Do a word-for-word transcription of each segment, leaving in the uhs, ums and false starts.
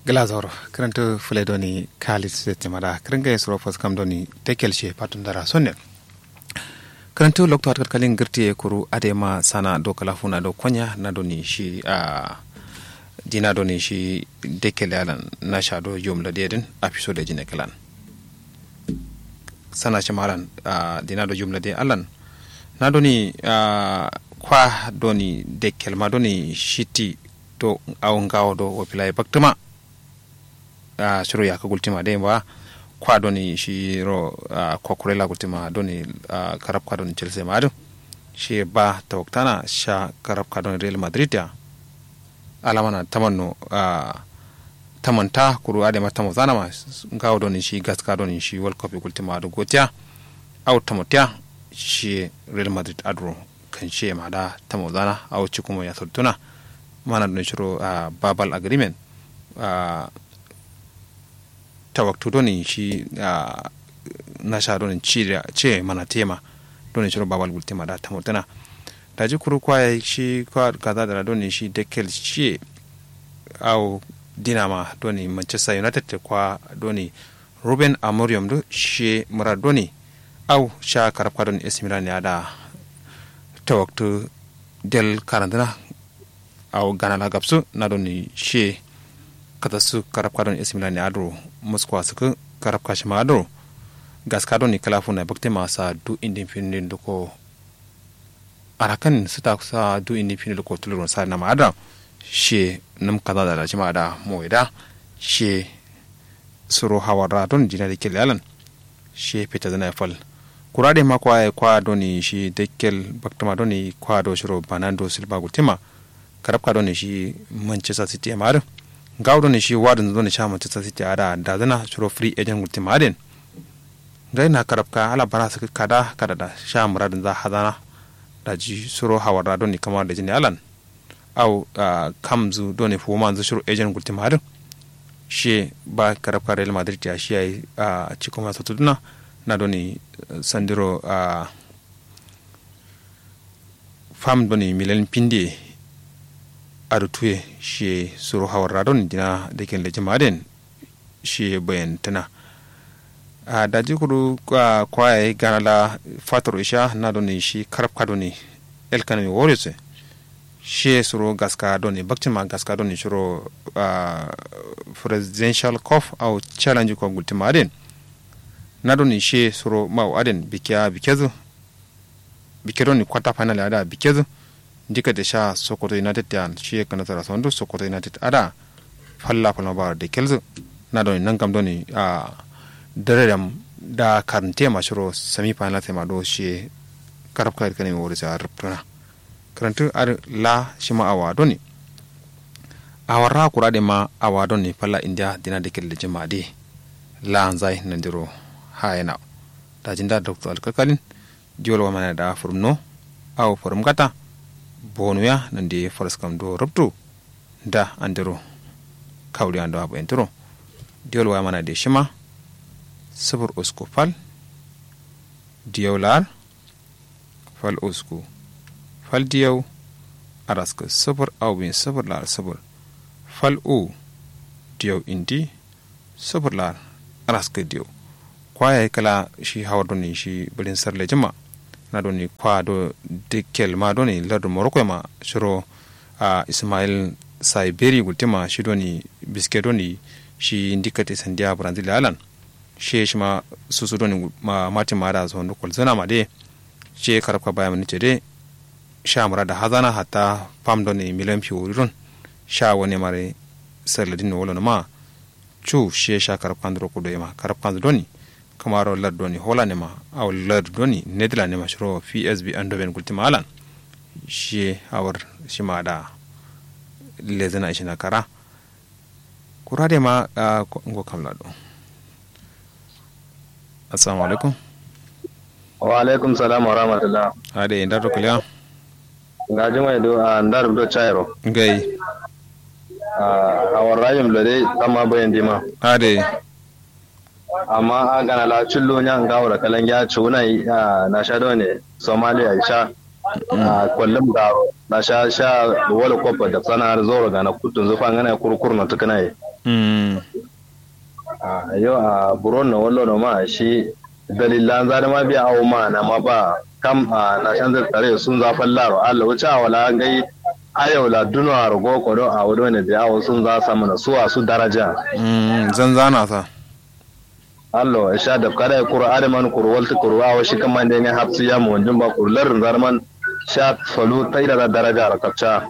Gla zauro. Kǝrǝntǝ fǝle doni kalis sete mada kǝrǝngaye suro faskam doni tekel she fatun dara sonnen. Kǝrǝntǝ loktu hatkat kalin gǝrtiye kuru adema sana do kalafuna do konya na doni shi a dina doni shi dekel yalan nasha do yum lade din afiso da jine kalan. Sana shi malan a dina do yum lade alan na doni a kwa doni dekel ma doni shiti do awo ngawo do wofila ye baktǝma. A shiro yakka gultima dai ba kwa doni shiro a kokurela gultima doni a karabka doni chelsea ma adǝ. Shi ba tawaktana sha karabka doni real madrid ya. Alamana tamanno a tamanta kuru adai ma tamozana ma ngawo doni shi gaska doni shi world cup gultima adǝ gotiya. Au tamotiya shi real madrid adro kanshe ma da tamozana au cikumo ya sottuna. Mana doni shiro a babal agreement a tawaktu doni shi a nasha doni ci ce mana tema doni shiro babal gultima da tamotuna. Daji kuru kwa shi kwa kaza dara doni shi dekel shi au dinama doni manchester united kwa doni ruben amorium do shi murad doni au sha karabka doni ac milan ya da tawaktu del karanduna. Awo gana la gabsu na doni shiye katassu karabka doni ac milan ne aduro muskwa sǝkkǝ karabka shima aduro gaska doni kǝla funa bakte ma sa du indin findin duko arakan sǝta sa du indin findin duko tulurun sa nama ada shiye nǝm kaza da shima ada moye da shiye suro hawarra don dina da kelle alan. Shiye fetazǝna ye fal kura dai ma kwa ye kwa doni shi dekkel baktǝma doni kwa do shiro banando silba gultǝma. Karabka doni shi manchester city ye ma adǝ ngawo doni shi wadǝnzǝ doni sha manchester city ada dazǝna shiro free agent gultǝma adǝ yen. Ngai na karabka ala bara sǝkkǝ kada kada da sha muradǝnza hazana. Daji suro hawarra doni kamar da jini alan. Au kamzǝ done fuwumanzǝ shiro agent gultǝma adǝ. Shiye ba karabka real madrid ya shiyayi cikuma sotuduna na done sandiro. Fam done milen pinde adǝ tuye shiye suro hawarra done dina daken lejǝma adǝ yen. Shiye bayantǝna. Daji kuru kwa yayi gana la fatoro isha na done shi karabka done elkanami warriors ye. Shiye suro gaska done bakcin ma gaska done shiro presidential cup au challenge cup gultin ma adǝ yen. Na done shiye suro mau adǝ yen bike a bikezǝ. Bike done quarter final ya da bikezǝ. Ndikate sha sokoto united ya shiye kanasara sondu sokoto united ada. Falla falma baro de kelzǝ. Na done nangam done a dare dam da karnte ma shiro semi final sai ma do shiye. Karabka irkane ma wori sai a rubtuna. Kǝrantǝ adǝ la shima awa done. Awarra kura dai ma awa done falla india dina de kelle jima de. La nzai nandiro hayena. Dajin da doctor alkakalin. Diwol wamana da fǝrǝmno. Awo fǝrǝmgata. Bonuya nande faraskam do rubtu. Nda andero. Kawuliya ndo abayintǝro. Diyol waya mana de shima. Sǝfur usku fal. Diyau lar. Fal usku. Fal diyau. Araskǝ sǝfur au bin sǝfur lar sǝfur. Fal u. Diyau indi. Sǝfur lar. Araskǝ diyau. Kwa yayi kǝla shi hawar doni shi bǝlin sar lejima. Na doni kwa do dikkel ma doni lardu moroko ma shiro. Ismail saiberi gultima shi doni biske doni shi ndikkate sandiya brazil alan. Shiye shima susu doni matin ma da sondu kolzǝna ma de. Shiye karabka baya mani cede. Sha murada hazana hatta fam doni milan fiwori don. Sha wane mare sarladin no wolo numa. Cu shiye sha karabkanzǝ ro kudo yema karabkanzǝ doni. Kǝmaro lardu doni hola nema. Awo lardu doni nedila nema shiro psb andoben gultima alan. Shiye hawar shima da lezǝna ishina kara. Kura dai ma ngo kam lado. Assalamu alaikum. Wa alaikum salam wa rahmatullah. Adai ndardo kǝliya. Ngaji mai do a ndardo cairo. Ngai. Hawar rayim lo dai tamma bayan dima. Adai. Amma a gana la cillo nya ngawo da kalangiya ciwuna yi na sha done. Somalia isha. Kollum garo na sha sha wala kofa da sana har zoro gana kutun zufa ngana kurkur no tukuna yi. Yo a buron no wallo no ma shi dalillan za dǝ ma biya awo ma na ma ba kam a na shan zai tare sun za fallaro allo wuce a wala ngai ayau la duno a rogo kodo a wado ne biya awo sun za samu na suwa su daraja. Zanzana sa. Allo sha dafka dai kuru adǝ man kuru waltǝ kuru awo shi kǝmande ngai hafsu ya mu wanjin ba kuru larrin za dǝ man sha falu taida za daraja ra kapca.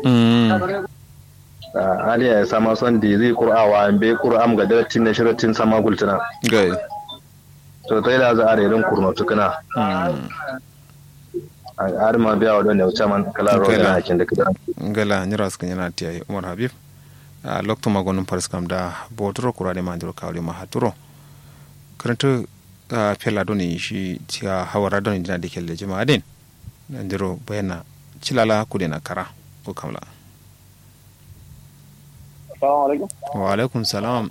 Aliya ya sama son dizi kuru awa mbe kuru am ga daratin ne shiratin sama gultuna. Gai. To taida za are don kurno tukuna. Adǝ ma biya wa don ne wuce man kala ro gala na kin da kidan. Gala nyiro askin yana tiya umar habib. Loktu ma gonum paris kam da boturo kura de ma ndiro kawri ma haturo. Krantu fela doni shi tiya hawara doni dina de kelle jima aden. Ndiro bayana cilala kudena kara ko kamla. Assalamu alaikum. Wa alaikum salam.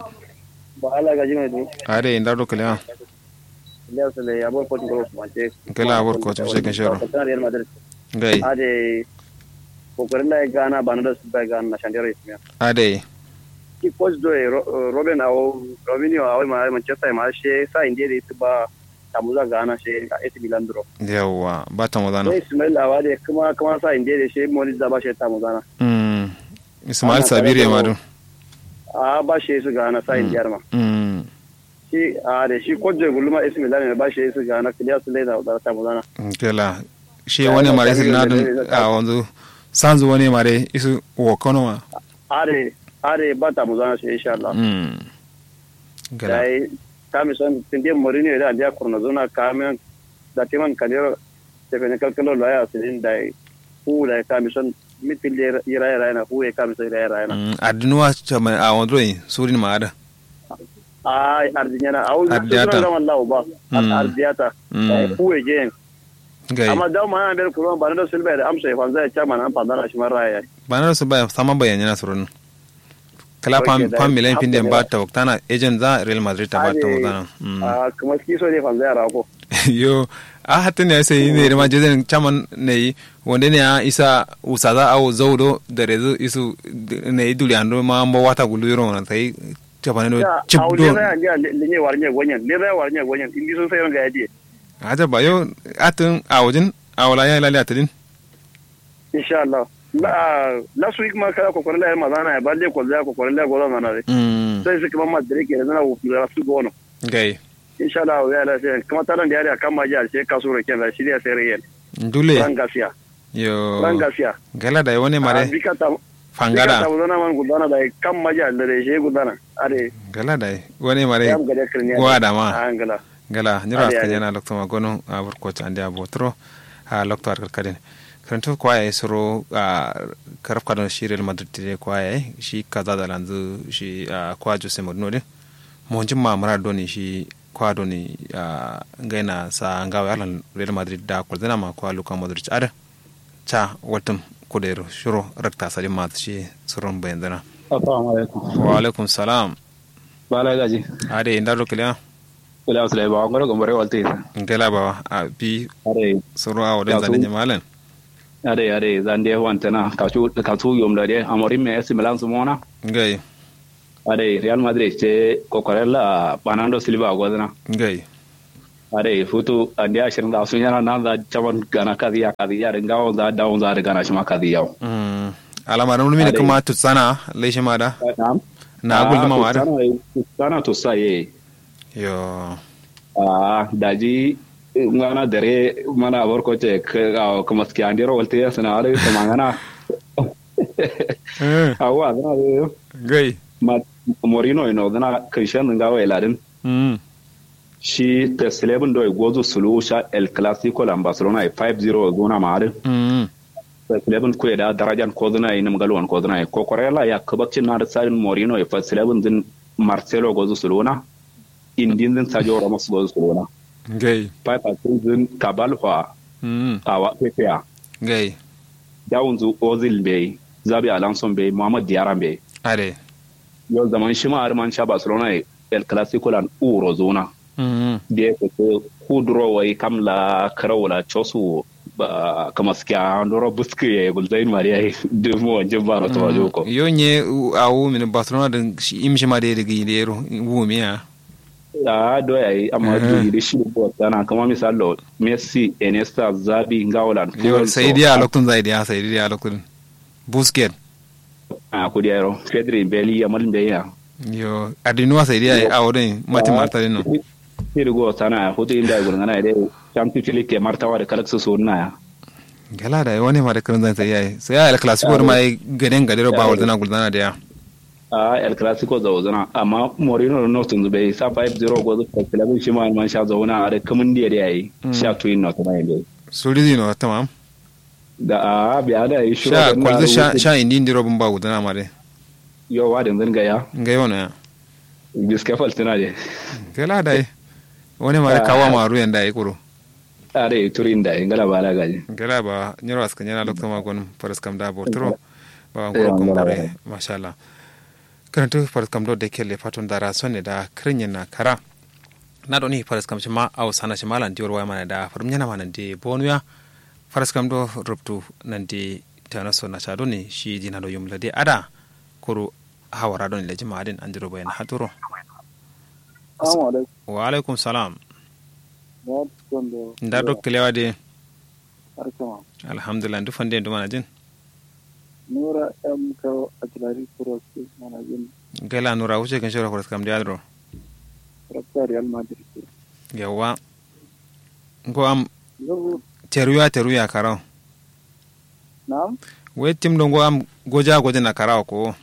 Ba ala gaji mai du. Ade inda do kalewa. Iliya sule ya bor kotu ko kuma ce. Kala bor kotu ce kan shero. Real madrid. Ngai. Ade kokorin da gana bana da su ba gana na shandero ismiya. Ade. Ki coach do robin awo robinho awo ma manchester ma she sa inde da ita ba tamuza gana she ac milan duro. Yawwa ba tamuza na. Ismail awa da kuma kuma sa inde da she moni da ba she tamuza na. Ismail sabiri ya madu. A ba shi su gana sa indiyar ma. Shi a da shi kojje guluma ismi da ne ba shi su gana kiliya su laida da ta muzana. Kela shi wani mare su na dun a wanzu sanzu wani mare isu wo kono ma. Are are ba ta muzana shi insha Allah. Kela dai kami son tinde morini da andiya kurna zuna kami da timan kanero. Tefene kalkalo loya sirin dai fu dai kami son mitin de iraye rayena fu ye kami son iraye rayena. Addunuwa caman a wandro yin surin ma ada. Ai ardinyana au ardinyata zaman lawo ba. Ardiyata fu ye je yen. Amma dawo mana nder kuron ba na da sulba da amsa ya fanza ya caman an fanza na shi man raya. Ba na da sulba ya sama bayan yana surin. Kala fam fam milan fin den ba ta waktana ejen za real madrid ta ba ta waktana. Kuma ski so ne fanza ya rako. Yo a hatta ne sai ne ma jezen caman ne yi wanda ne ya isa usaza awo zaudo da rezu isu ne yi duli ando ma mbo wata gulu yiro na sai cafane do cip do. Linye warnye gonyen linye warnye gonyen indi sun sai ran ga yadiye. Aja ba yo atin awojin awola ya lali atidin. Insha Allah. Last week ma kala kokorin la yar mazana ya balle ko za kokorin la goza mana de. Sai su kuma madre ke zana wo fura su gono. Gai. Insha Allah ya la sai kuma taran da ya kan maji alshe kasu roken da shi da sai reyen. Dule. Ran gasiya. Yo. Ran gasiya. Gala da wani mare. Bika ta fangada ta zana man gudana da kan maji alshe gudana. Are. Gala da wani mare. Wa da ma. Angala. Ngala nyiro askar yana lokto ma gono a burkoto ande a botoro. A lokto ar karkadin karantu kwaya suro a karafka don shi real madrid de kwaya shi kaza da lanzu shi a kwa jose mourinho din monjin ma mura doni shi kwa doni a ngaina sa ngawa yalan real madrid da kwalzana ma kwa luka modric ada. Ca waltum kudero shiro rakta sadin ma shi suron bayanzana. Assalamu alaikum. Wa alaikum salam. Bala gaji. Ade inda ro kiliya. Kiliya sulai ba ngoro gombore walte isa. Ngela ba a bi. Ade. Soro a wadan zande nyamalen. Ade ade zande wantana kasu kasu yom da de amorim me esi milan su mona. Ngai. Ade real madrid ce kokorella banando silva gozna. Ngai. Ade futu ande ashirin da sun yana nan za caman gana kaziya kaziya da ngawon za dawon za da gana shi ma kaziya. Alama da mulmi ne kuma tutsana lai shi ma da. Na gulma ma da. Sana to saye. Yo. A daji ngana dare mana barko ce kuma ski andero walte ya sana are kuma ngana. Awa zana. Gai. Morino ino zana krishan ngawa iladin. Shi pes eleven doi gozu sulu sha el clasico lan barcelona e five zero guna ma adin. Pes eleven kuye da darajan kozuna e num galwan kozuna e kokorela ya kabakcin na da sadin morino e pes eleven din marcelo gozu suluna. Indin din sajo ramos gozu suluna. Ngai. Five asin din kabalfa. Awa pepe a. Ngai. Dawunzu ozil mbei zabi alonso mbei muhammad diara mbei. Are. Yo zaman shima har man sha barcelona e el clasico lan uro zuna. Biye keke kuduro wai kam la kara wula cosu wo. Ba kamaskiya ndoro buskǝ yayi gulzain ma dǝ yayi. Dǝ mu wanjin ba no tuma joko. Yo nye awu mini barcelona dǝ, imshi ma dǝ yayi dǝ gǝyi dǝ yero. Wu miya. A do yayi amma duri dǝ shi dǝ bo tana kama misallo, messi, iniesta, zabi, ngawo lan. Yo sai diya loktun zai diya sai diya loktun. Busket. A kudi yero, pedri mbeli yamal mbeya. Yo adinuwa sai diya awo dǝ mati marta dǝ no. Siri go sana ya hutu inda gulngana ya dai. Champions league ke martawa da kalaksu sunna ya. Gala da wani ma da kirin zan sai yayi sai ya el clasico da ma yi gaden gadero ba walzana gulzana da ya. A el clasico za walzana amma morino da north yanzu bai sa five zero gozu festival shi ma man sha zauna a da kamun da ya yi. Sha tuyin na kuma yin dai. Suri zino tamam. Da a biya da yi shiro sha da na kwalzu sha rubutu. Sha indi indi robin ba gulzana ma dai. Yo wa da yanzu ga ya. Ga yau na ya. Biske faltina de. Gala dai. Wani mare kawa maru yanda ya kuro. Are turin da ingala ba la gaji. Gala ba nyiro askan yana lokto ma gon faras kam da botro. Ba ngoro kumbore mashallah. Karantu faras kam do de kelle faton dara sonne da krinyen na kara. Na doni faras kam shima au sana shima lan diwar waya mana da farum yana mana de bonuya. Faras kam do rubtu nan de tana so na sha doni shi dina do yum lade ada. Kuru hawara doni lajima adin andiro bayan haturo. Assalamu alaikum. Wa alaikum salam. Nda duk kilewa de. Alhamdulillah duk fande duk manajin. Nura m kawo a tulari kuros manajin. Gala nura wuce kan shawara kuros kam de adro. Rabta real madrid. Yawa. Ngo am. Teruya teruya karau. Na'am. Wai tim do ngo am goja goja na karawa ko.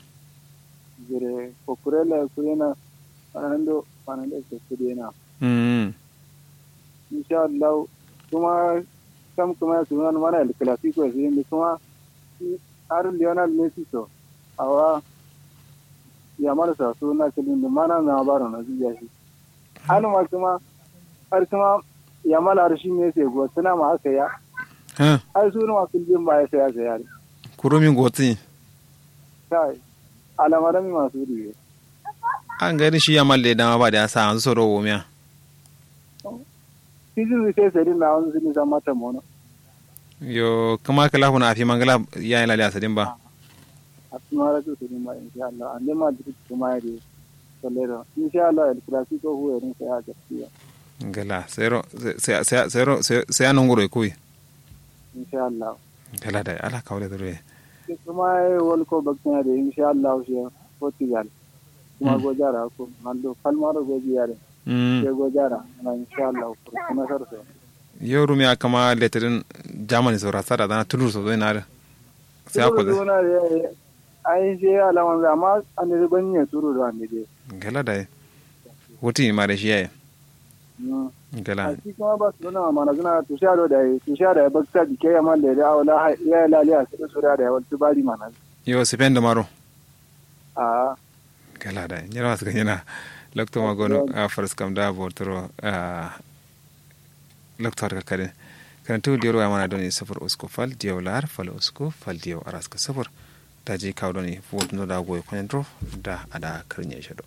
Jire ko kurela kurena. Anando anando ko kurena. Mm. Insha Allah. Kuma kam kuma ya suna mana el clasico ya suna kuma har lionel messi so. Awa ya mara sa suna kilin da mana na baro na jiya shi. Har ma kuma har kuma ya mala har shi messi go suna ma aka ya. Har suna ma kilin ba ya saya saya. Kurumin gotsi. Kai. Alamaran masu riye. An gani shi ya malle dama ba da ya sa an tsoro womiya. Kijin zai sai sai din na wani zini zama ta mono. Yo kuma kala huna afi mangala ya yi laliya sadin ba. A tun mara su sadin ba insha Allah an dai ma duk kuma ya dai sallero insha Allah el clasico hu ya din sai a gaskiya. Gala sai ro sai sai sai ro sai sai anan guro kuwi. Insha Allah. Gala da ala kawle dure. Kuma ya yi wal ko bakina da insha Allah shi portugal. Kuma go jara ko mando kalmaro go jiyare. Sai go jara na insha Allah. Kuma sarso. Yo rumiya kama letirin germany so rasa da zana tulur so zai na da. Sai ako zai. Ai sai alaman zama an da ban ne turu da wani dai. Gala da. Wuti ma da shi yayi. Gala. Shi kuma ba su nuna mana suna tusha do da yi tusha da ya bakta dike ya man da ya awo la ya laliya su da sura da ya wal tubari mana. Yo sifen da maro. A. Gala da nyira masu ganyana. Lokto ma gono a faras kam da botoro a. Lokto har kakadin. Kan tu diyar waya mana doni sufur usku fal diyau lar fal usku fal diyau araska sufur. Da ji kawo doni vote no da goyi kwanin dro da a da karin ya shado.